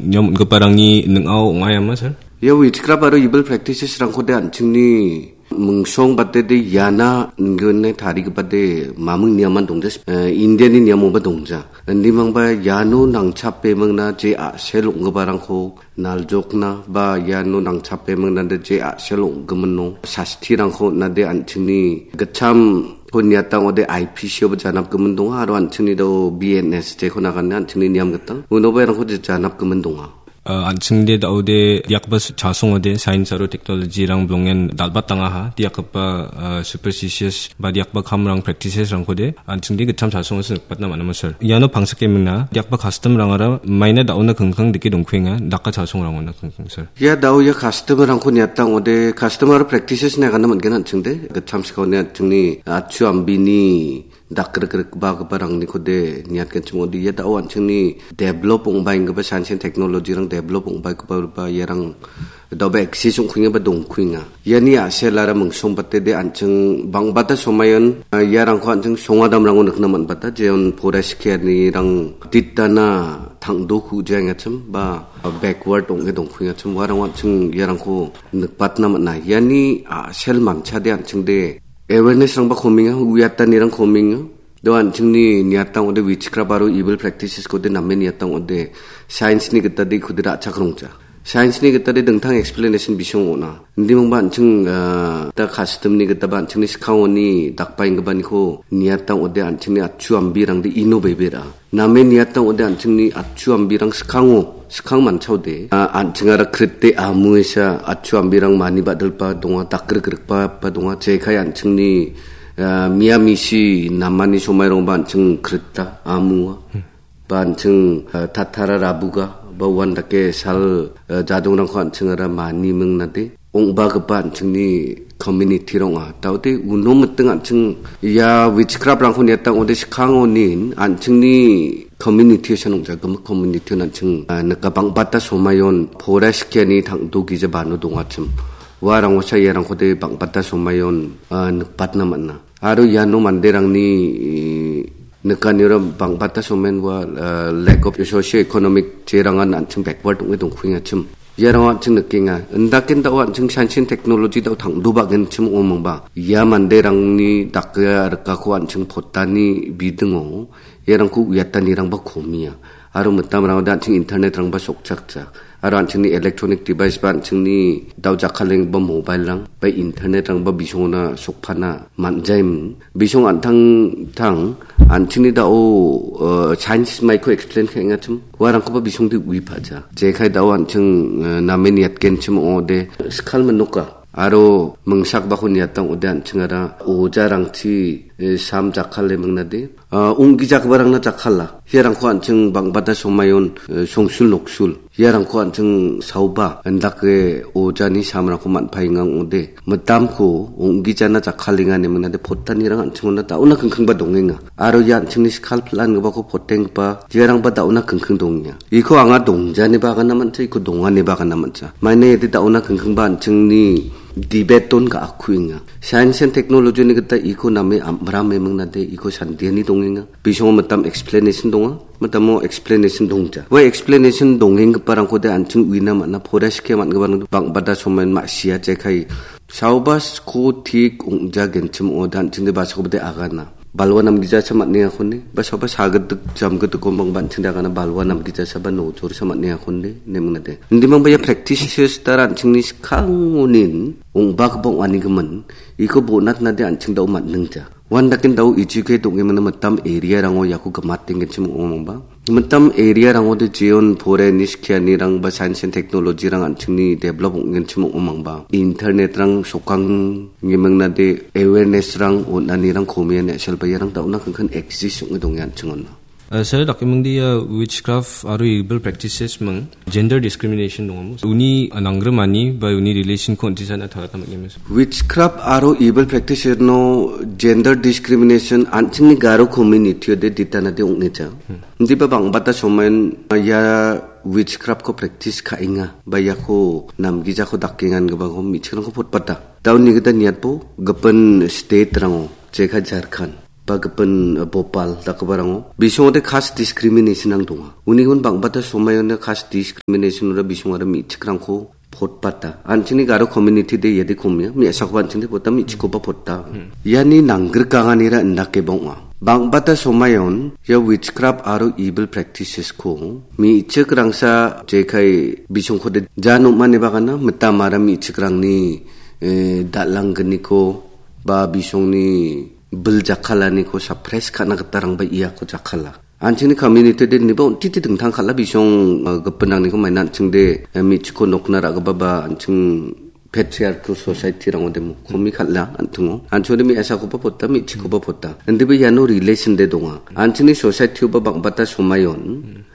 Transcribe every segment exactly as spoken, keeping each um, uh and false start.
niam on·giparangni ning·ao ong·a iama, sir? Ia witchcraft aro evil practices-rangkode an·chingni mingsong batede iana ingone tarigipade maming niaman dongja, eh, Indiani niamoba dongja. Indimangba iano nangchape mingna je a·sel ong·giparangko naljokna ba iano nangchape mingnade je a·sel ong·gimin ong-, sastirangko on·ade an·chingni gitchamko niatang ode I P C-oba janapgimin donga aro an·chingni do B N S jeko nagane an·chingni niam gita unoba iarangko je janapgimin donga. Ah, an·chingde da·ode diakba s-, chasongode science aro technology-rang bilongen dal·batangaha, diakgipa, ah, superstitious ba diakba kamrang practices-rangkode an·chingde gitcham chasongosi nikbatna man·a, sir. Iano pangsake mina, diakba custom-rangara maina da·ona kingkang dike dongkuenga, daka chasongrangona kingkang, sir. Ia da·o ia custom-rangko niatang ode, custom aro practices-ni agana man·gen an·chingde, gitcham sikao ine an·chingni, ah, atchu ambini dakrikrikbagiparangnikode niatgenchim ong·ode, ia da·o an·chingni develop ong·baenggipa science and technology-rang develop ong·baenggipa iarang da·oba access ong·kuenga ba dongkuenga. Iani a·selara mingsongbatede an·ching bangbata somayon, ah, iarangko an·ching songadamrango nikna man·bata, jeon forest care-nirang ditana tangdo ku·jaengachim ba backward ong·e dongkuengachim, uarang an·ching iarangko nikbatna man·a. Iani a·sel manchade an·chingde awareness-rangba kominga, uiatanirang kominga. Do an·chingni niatang ode witchcraft aro evil practices-kode name niatang ode science-ni gitade ikode ra·chak rongja. Science-ni gitade dingtang explanation bisong ong·a. Indimangba an·ching, ah, da custom-ni gitaba an·chingni skangoni dakbaenggipaniko niatang ode an·chingni atchu ambirangde ino bebera. Name niatang ode an·chingni atchu ambirang skango, skang manchaode, ah, an·chingara krite amuesa atchu ambirang mani badilba donga, dakrikrikba, ba donga, jekai an·chingni, ah, mia misi namani somairongba an·ching krita amua. Hmm. Ba an·ching, ah, tatara rabuga, ba uandake sal, ah, jadongrangko an·chingara mani mingnade. Ong·bagipa an·chingni community-rang ong·a. Daode uno miting an·ching ia witchcraft-rangko niatang ode skangonin an·chingni community-o san ong·ja, gimik community-on an·ching, ah, nika bangbata somayon forest care-ni tangdo gija bano dongachim. Uarangosa iarangkode bangbata somayon, ah, nikbatna man·a. Aro iano manderangni, eh, nikaniro bangbata somen ua, eh, lack of socio-economic jerangan an·ching backward ong·e dongkuengachim. Iarang an·ching nikenga. Indaken da·o an·ching science and technology da·o tangdobagenchim ong·omangba. Ia manderangni dake rikako an·ching potani bidingo iarangko uiatanirangba komia. Aro mitamrangode an·ching internet-rangba sokchakja. Aro an·chingni electronic device ba an·chingni dao jakkalenggipa mobile-rang ba internet-rangba bisongona sokpana man·jaim. Bisong an·tangtang an·chingni dao, eh, science maiko explain ka·engachim. Uarangkoba bisongde uipaja. Jekai dao an·ching, eh, name niatgenchim ong·ode skal minoka. Aro mingsakbako niatang ode an·chingara ojarangchi, eh, sam jakkale mingnade. Ah, ong·gijagiparangna jakkala. Iarangko an·ching bangbata somayon, eh, songsul noksul. Iarangko an·ching saoba, indake ojani samrangko man·paenga ong·ode. Mitamko ong·gijana jakkalenga ine mingnade pottanirang an·chingona da·ona kingkingba dongenga. Aro ia an·chingni skal pil·angipako potenggipa, iarangba da·ona kingking dongenga. Iko anga dongjaniba agana man·ja, iko donganiba agana man·ja. Maina iade da·ona kingkingba an·chingni debate-on ga·akkuenga. Science and technology-ni gita iko name am-, rame mingnade iko sandiani dongenga. Bisongo mitam explanation donga, mitamo explanation dongja. Ua explanation dongenggiparangkode an·ching uina man·a, forest care man·giparangde bangbata somain ma·sia jekai. Saoba sko tik ong·jagenchim ong·ode an·chingde basakobade agana. Balwa namgijasa man·engakon de, ba saoba sagidik jamgidikon bangba an·chingde agana balwa namgijasa ba nojorsa man·engakon de, ine mingnade. Indimangba ia practices tara an·chingni skangonin ong·bagipa ong·anigimin, iko bonatnade an·ching dao man·ningja. Uandaken dao educate ong·emina mitam area-rango iako gimatenggenchim ong·omangba. Mitam area-rangode jeon forest care-nirang ba science and technology-rang an·chingni develop ong·genchim ong·omangba. Internet-rang sokang ngimingnade awareness-rang on·anirang komian ya·selba iarang da·ona kangkan exist ong·e donge an·ching on·a. Eh, sir, dakemingdi ia witchcraft aro evil practices ming gender discrimination dongamo. Uni nanggrimani ba uni relation-ko on·tisana tarata man·gema. Witchcraft aro evil practice-no gender discrimination an·chingni Garo community-ode ditanade ong·eja. Hmm. Indiba bangbata somain ia witchcraft-ko practice ka·enga, ba iako namgijako dakengangipako me·chikrangko potbata. Dauni gita niatbo gipin state-rango, jeka Jharkhand. ba gipin, eh, bopal dakgiparango bisongode caste discrimination-rang donga. Unigimin bang·bata somaio caste discrimination-ora bisongara me·chikrangko potbata. An·chingni Garo community-de iade komia, me·asakoba an·chingde pota, me·chikkoba pota. Hmm. Iani nanggrikanganira indakeba ong·a. Bang·bata somaion ia witchcraft aro evil practices-ko me·chikrangsa jekai bisongkode ja nom·ani bagana mitamara me·chikrangni, eh, dal·anggniko ba bisongni bil jakkalaniko suppress ka·na gitarangba iako jakkala. An·chingni community-de niba on·titi dingtang kal·a bisong, eh, gipinrangniko maina an·chingde, eh, me·chikko nokna ra·gipa ba an·ching patriarchal society-rangode mo-, komi kal·a an·tingo. An·chingode me·asakoba pota, me·chikkoba pota. Indiba iano relation-de donga. An·chingni society-oba bang·bata somaion,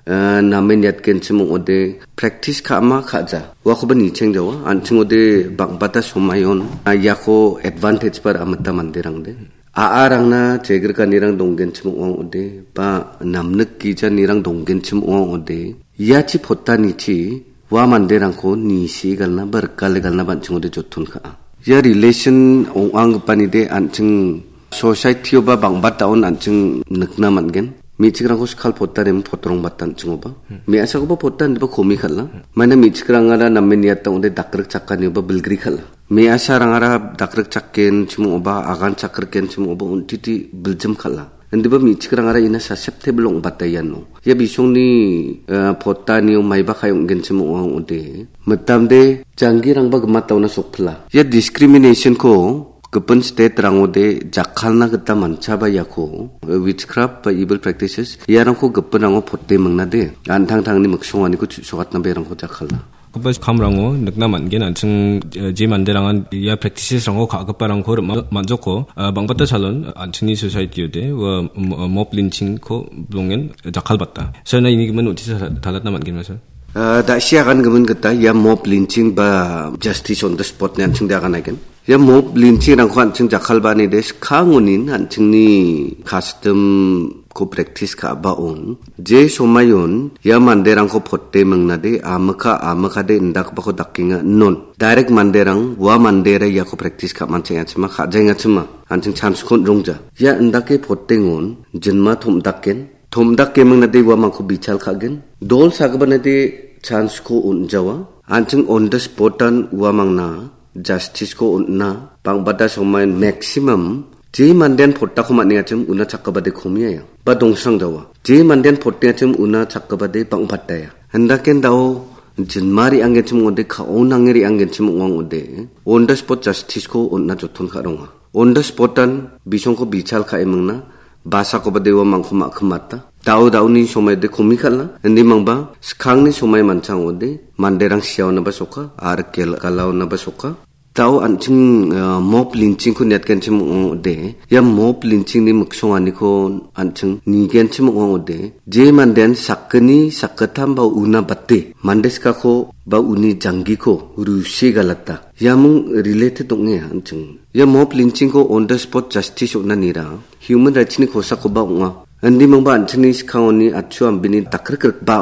eh, namen niatgenchim ong·ode practice ka·ama ka·ja. Uakoba nichengjawa. An·chingode bang·bata somaion, ah, iako advantage-ba ra·a mita manderangde. A·arangna chegrikanirang donggenchim ong·a ong·ode, ba namnik gijanirang donggenchim ong·a ong·ode, iachi potanichi ua manderangko nisigalna ba rikalegalna ba an·chingode joton ka·a. Ia relation ong·anggipanide an·ching society-oba bang·bataon an·ching nikna man·gen. Me·chikrangko skal potarim potrong bata an·chingoba. Hmm. Me·asakoba pota indiba komi kal·a. Hmm. Maina me·chikrangara namen niata ong·ode dakrik chakanioba bilgri kal·a. Me·asarangara dakrik chakenchim ong·oba, agan chakrikgenchim ong·oba, on·titi biljim kal·a. Indiba me·chikrangara ina susceptible ong·bata iano. Ia bisongni, eh, potanio maiba kai ong·genchim ong·a ong·ode. Mitamde janggirangba gimataona sokpila. Ia discrimination-ko gipin state-rangode jakkalna gita manchaba iako, eh, witchcraft ba evil practices, iarangko gipinrango pote mingnade. An·tangtangni miksonganiko chu·sokatnaba iarangko jakkala. Gipa kamrango nikna man·gen, an·ching, eh, je manderangan ia practices-rango ka·giparangko rima-, man·joko, eh, bang·bata salon, an·chingni society-ode, ua, mo-, mob lynching-ko bilongen jakkalbata. Sir, na ini gimin notice tala-, talatna man·gen, sir? Eh, da·sia agan gimin gita ia mob lynching ba justice on the spot-ni an·chingde agan aigen. Ia mob lynching-rangko an·ching jakkalbaanide skangonin an·chingni custom ko practice ka·baon. Je somaion ia manderangko pote mingnade, amika, amikade indakbako dakenga. Non. Direct manderang, ua mandera iako practice ka·manchengachima, ka·jaengachima. An·ching chance-ko on·rongja. Ia indake potengon, jinma tom·daken. Tom·dake mingnade uamangko bichal ka·gen. Dol sagipanade chance-ko on·jawa. An·ching on the spot-an uamangna justice-ko on·na, bang·bata somain maximum je mandean potako man·engachim una chakgipade komiaia. Ba dongsrangjawa. Je mandean potengachim una chakgipade bang·bataia. Hindaken dao jinma re·anggenchim ong·ode, ka·o nange re·anggenchim ong·a ong·ode, on the spot justice-ko on·na joton ka·ronga. On the spot-an bisongko bichal ka·e mingna, basakoba dewa mangko ma·kimata. Dao daoni somaide komi kal·a, indimangba skangni somai manchang ong·ode, manderang siaonaba soka, aro kel-, galaonaba soka. Dao an·ching, ah, mob lynching-ko niatgenchim ong·ode, ia mob lynching-ni miksonganiko an·ching nigenchim ong·ode, je mandean sakgni, sakgittam ba una bate, mande skako ba uni janggiko rusi galata. Iaming related ong·e an·ching. Ia mob lynching-ko on the spot justice on·anira human rights-ni kosakoba ong·a. Indimangba an·chingni skangoni atchu ambini dakrikrikba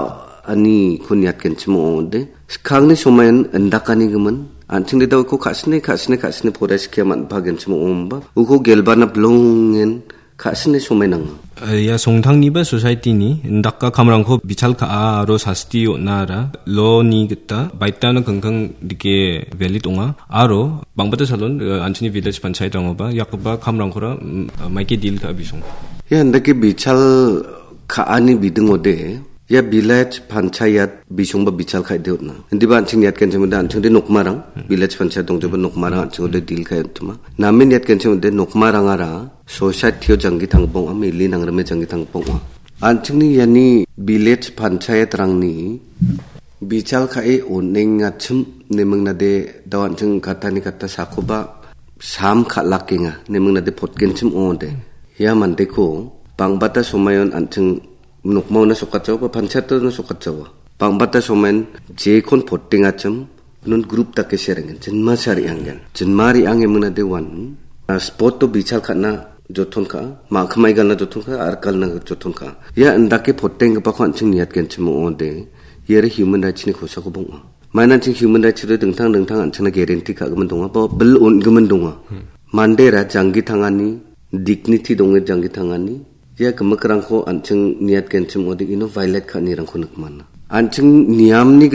aniko niatgenchim ong·ode. Skangni somain indakanigimin, an·chingde dao uko ka·sine, ka·sine, ka·sine poraiskia man·pagenchim ong·omba. Uko gelbana bilongen ka·sine somai nanga. Eh, ia songtangniba society-ni indaka kamrangko bichal ka·a aro sasti on·ara law-ni gita baitano kingking dike valid ong·a. Aro bang·bata salon, eh, an·chingni village panchayat-rangoba iakgipa kamrangkora, mm, maike deal ka·a bisong. Ia indake bichal ka·ani bidingode, ia village panchayat bisongba bichal ka·ide on·a. Indiba an·ching niatgenchimode an·chingde nokmarang, hmm, village panchayat dongjoba nokmarang an·chingode deal ka·e on·tima. Name niatgenchimode nokmarangara society-o janggi tangbong·a, mili nangrime janggi tangbong·a. An·chingni iani village panchayat-rangni bichal ka·e on·engachim nemingnade dao an·ching katani kata sakoba sam kal·akenga nemingnade potgenchim ong·ode. Ia mandeko bang·bata somayon an·ching nokmaona sokatjaoba, panchayatona sokatjaoa. Bang·bata somain jekon potengachim, non group dake serengen, jinma sariangen. Jinma riange mingna de wan, ah, spot-o bichal ka·na joton ka, ma·kimai galna joton ka, arkalna joton ka. Ia indake potenggipako an·ching niatgenchim ong·ode, iare human rights-ni kosako bang·a. Maina an·ching human rights-o dingtang dingtang an·chingna guarantee ka·gimin donga, ba bil on·gimin donga. Hmm. Mandera janggi tangani dignity donge janggi tangani, ia gimikrangko an·ching niat genchim ode ino violate ka·anirangko nikmana. An·ching niamni